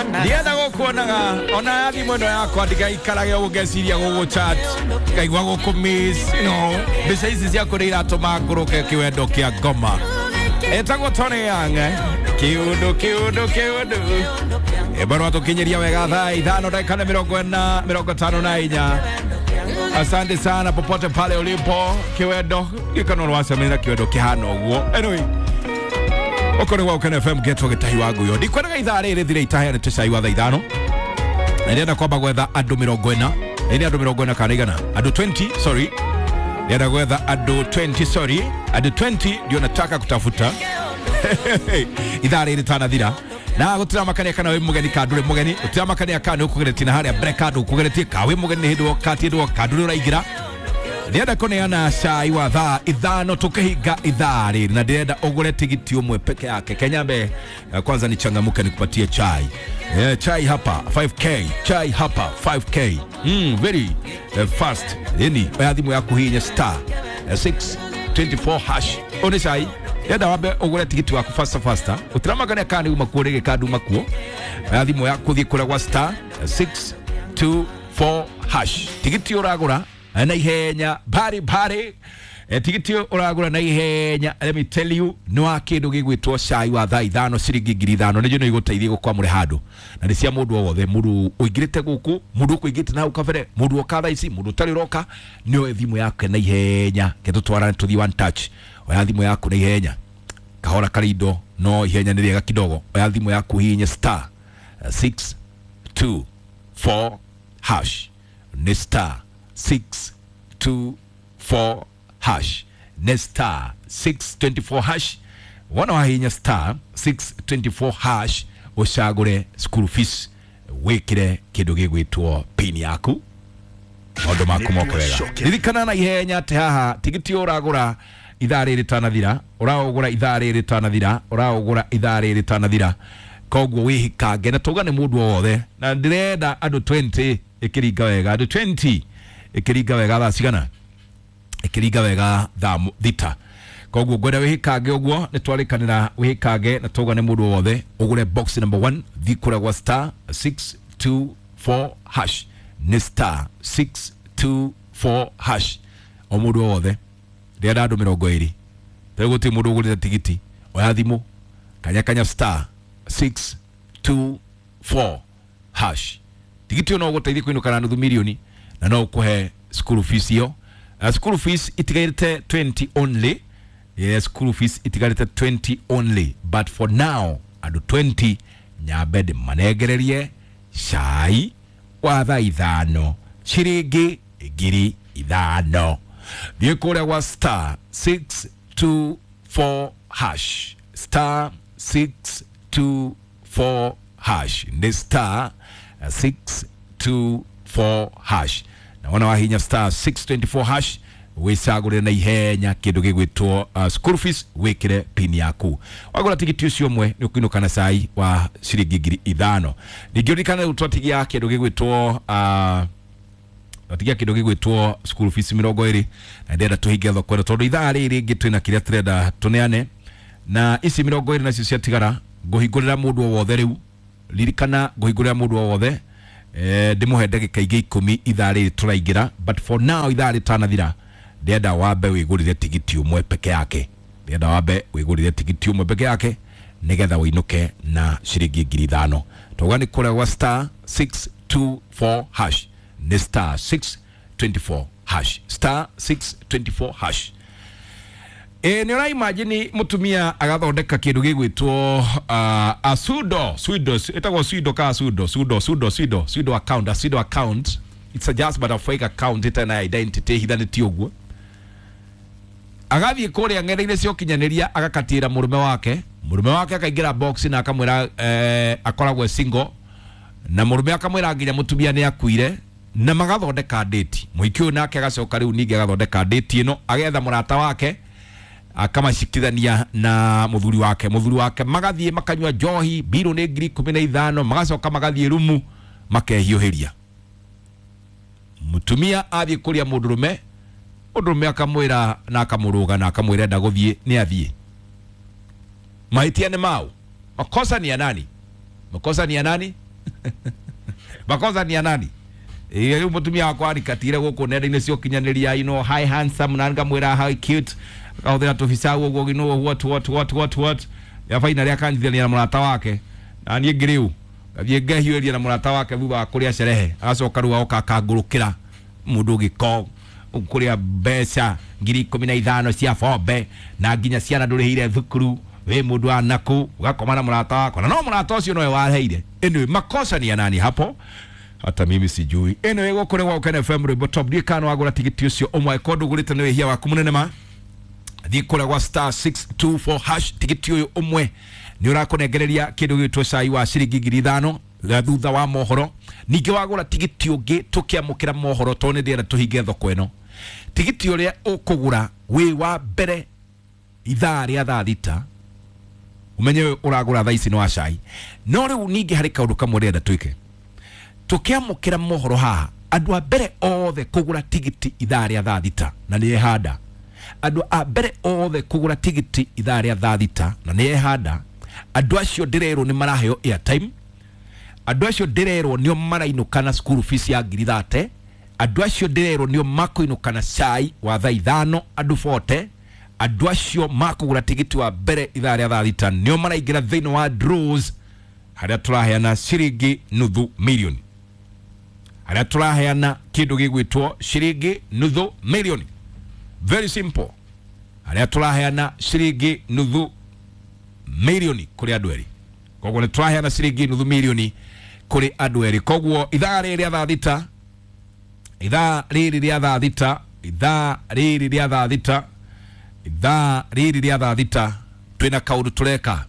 Ndienda gukuonaga ona thimũ ĩno yakwa ndigaikarage ũguo ngeciria gũgũ chat ngaigua gũkũ miss mbica ici ciaku nĩ iratũma ngũrũke kĩwendo kĩa ngoma. Etagwo Tony Young, kiundu kiundu kiundu ĩbarũa tũkinyiria wega thaa 5 dakika 40 54. Asante sana popote pale ulipo kiwendo gikano rwacemania na kiwendo kihana ũguo. Anyway, okorwo gwa Ukeno FM getwo gĩtahi wa nguyo ndikwenaga ithaa rĩrĩ thire itaheanĩte cai wa thaa 5 na ndĩrenda kwamba gwetha andũ 40 nĩ andũ 40 kana igana andũ 20 sorry ndĩrenda gwetha andũ 20 sorry andũ 20 ndio nataka kutafuta ithaa rĩrĩ tanathira na gũtiramakania kana wĩ mũgeni ka ndũrĩ mũgeni gũtiramakania kana nĩ ũkũgeretie na harĩa mbere ka ndũkũgeretie ka wĩ mũgeni nĩ hĩndĩ woka ti hĩndĩ woka ndũrĩ ũraingĩra. Ndĩrenda kũneana cai wa thaa 5 tukihinga ithaa rĩrĩ na ndĩrenda ũgũre tigiti ũmwe peke yake. Kenyambe kwanza nichangamuke nikupatie chai. Chai hapa 5k, chai hapa 5k. Very fast. Yani oya thimũ yaku hihinya star 624 hash. One cai ndĩrenda wambe ũgũre tigiti waku faster faster. Ũtiramakania kana nĩ uma kuo rĩngĩ kana nduma kuo. Oya thimũ yaku thiĩ kũrĩa gwa star 624 hash. Tigiti ũragũra na ihenya bari bari tigiti ũragũra na ihenya. Let me tell you nĩ wa kĩndũ gĩgwĩtwo cai wa thaa 5 ciringi 5,000 nĩjo nĩ igũteithia gũkwamũre handũ na nĩ cia mũndũ o wothe mũndũ ũingĩrĩte gũkũ mũndũ ũkũingĩrĩte na hau kabere mũndũ oka thaa ici mũndũ ũtarĩ ũroka nĩ oe thimũ yake na ihenya ke tũtwarane tũthiĩ one touch. Oya thimũ yaku na ihenya kahora karindo no ihenya nĩ rĩega kidogo. Oya thimũ yaku hihinye star 624 hash nĩ star 624 hash ne star 624 hash. Wana wahinya star 624 hash ucagure school fees wikire kindu gigwitwo pin yaku maundu maku moke wega. Ririkana na ihenya ati haha tigiti uragura ithaa rĩrĩ tanathira ũraũgũra ithaa rĩrĩ tanathira ũraũgũra ithaa rĩrĩ tanathira koguo wĩhikange na tauga nĩ mũndũ o wothe na ndĩrenda andũ 20 ĩkĩringa wega andũ 20 ĩkĩringa wega thaa cigana ĩkĩringa wega thaa 6 koguo ngwenda wĩhikange ũguo nĩ twarĩkanĩra wĩhikange na tauga nĩ mũndũ o wothe ũgũre box number 1 thiĩ kũrĩa gwa star 624 hash nĩ star 624 hash o mũndũ o wothe ndĩrenda andũ 20 rĩu gũtirĩ mũndũ ũgũrĩte tigiti oya thimũ kanya kanya star 624 hash tigiti ũyũ no ũgũteithie kũinũka na nuthu mirioni na no ũkũhe school fees ĩyo. School fees itigarĩte 20 only. Yes, school fees itigarĩte 20 only but for now andũ 20 nyambe ndĩmanengererie cai wa thaa 5 ciringi 5,000. Thiĩ kũrĩa gwa star 624 hash star 624 hash nĩ star 624 hash na wona wahinya star 624 hash wĩcagũre na ihenya kĩndũ gĩgwĩtwo school fees wĩkĩre pin yaku wagũra tigiti ũcio ũmwe nĩ ũkũinũka na cai wa ciringi 5,000. Ningĩ ũririkane rĩu twatigia kĩndũ gĩgwĩtwo twatigia kĩndũ gĩgwĩtwo school fees 20 na ndĩrenda tũhinge thoko ĩno tondũ ithaa rĩrĩ rĩngĩ twĩna kĩrĩa tũrenda tũneane na ici 20 nacio ciatigara ngũhingũrĩra mũndũ o wothe rĩu ririkana ngũhingũrĩra mũndũ o wothe ndĩmũhe ndagĩka ingĩ 10 ithaa rĩrĩ tũraingĩra but for now ithaa rĩtanathira ndĩrenda wambe wĩgũrĩre tigiti ũmwe peke yake ndĩrenda wambe wĩgũrĩre tigiti ũmwe peke yake nĩgetha wĩinũke na ciringi 5,000. Tauga nĩ kũrĩa gwa star 624 hash nĩ star 624 hash star 624 hash. Nĩ ũra imagine mũtumia agathondeka kĩndũ gĩgwĩtwo a pseudo ĩtagwo pseudo ka pseudo pseudo pseudo pseudo pseudo account a pseudo account it's a just but a fake account ĩtarĩ na identity hithanĩtie ũguo agathiĩ kũrĩa ng'enda-inĩ cia ũkinyanĩria agakatĩra mũrũme wake akaingĩra box na akamwĩra akoragwo e single na mũrũme akamwĩra nginya mũtumia nĩ akuire na magathondeka date mũhiki ũyũ nake agacoka rĩu ningĩ agathondeka date ĩno agetha mũrata wake akamacikithania na mũthuri wake magathiĩ makanyua njohi mbirũ nĩ 15,000 magacoka magathiĩ rumu makehiũhĩria mũtumia athiĩ kũrĩa mũndũrũme mũndũrũme akamwĩra na akamũrũga na akamwĩra enda gũthiĩ nĩ athiĩ mahĩtia nĩ mau makosa ni ya nani makosa ni ya nani Makosa ni ya nani? Ĩĩ, rĩu mũtumia wakwa arikatire gũkũ nenda-inĩ cia ũkinyanĩria, hi handsome, na ngamwĩra hi cute, akahũthĩra tũbica ũguo, what what what what what ya finally akanjithania na mũrata wake, na niĩ ngĩrĩu ngathiĩ ngehiũria na mũrata wake thutha wa kũrĩa sherehe, agacoka rĩu agoka akangũrũkĩra mũndũ gĩko kũrĩa mbeca 15,000 cia bombe, na nginya ciana ndũrĩhĩire thukuru, wĩ mũndũ wa naku ũgakoma na mũrata wakwa, na no mũrata ũcio nowe waheire. Anyway, makosa ni ya nani hapo? Hata mimi sijui. Anyway, gũkũ nĩ gwa Ũkene FM, rwĩmbo top. Ndiũĩ kana wagũra tigiti ũcio ũmwe, ko ndũgũrĩte nĩ wĩhia waku mũnene ma. Thiĩ kũrĩa gwa *624#, tigiti ũyũ ũmwe nĩ ũrakũnengereria kĩndũ gĩgwĩtwo cai wa ciringi 5,000 ga thutha wa mohoro. Ningĩ wagũra tigiti ũngĩ tũkĩamũkĩra mohoro, tondũ nĩ ndĩrenda tũhinge thoko ĩno, tigiti ũrĩa ũkũgũra wĩ wa mbere ithaa rĩa thaa 6, ũmenye ũyũ ũragũra thaa ici nĩ wa cai. No rĩu ningĩ harĩ kaũndũ kamwe ndĩrenda twĩke tũkĩamũkĩra mohoro haha. Andũ a mbere othe kũgũra tigiti ithaa rĩa thaa 6 na nĩ ehanda, andũ a mbere othe kũgũra tigiti ithaa rĩa thaa 6 na nĩ ehanda, andũ acio ndĩrerwo nĩ maraheo airtime, andũ acio ndĩrerwo nĩo marainũka na school fees ya 30,000, andũ acio ndĩrerwo nĩo makũinũka na cai wa thaa 5, andũ 40, andũ acio makũgũra tigiti wa mbere ithaa rĩa thaa 6 nĩo maraingĩra thĩinĩ wa draws harĩa tũraheana ciringi 500,000, harĩa tũraheana kĩndũ gĩgwĩtwo ciringi 500,000. Very simple, harĩa tũraheana ciringi 500,000 kũrĩ andũ erĩ. Koguo nĩ tũraheana ciringi 500,000 kũrĩ andũ erĩ. Koguo ithaa rĩrĩ rĩa thaa 6, ithaa rĩrĩ rĩa thaa 6, ithaa rĩrĩ rĩa thaa 6, ithaa rĩrĩ rĩa thaa 6, twĩna kaũndũ tũreka.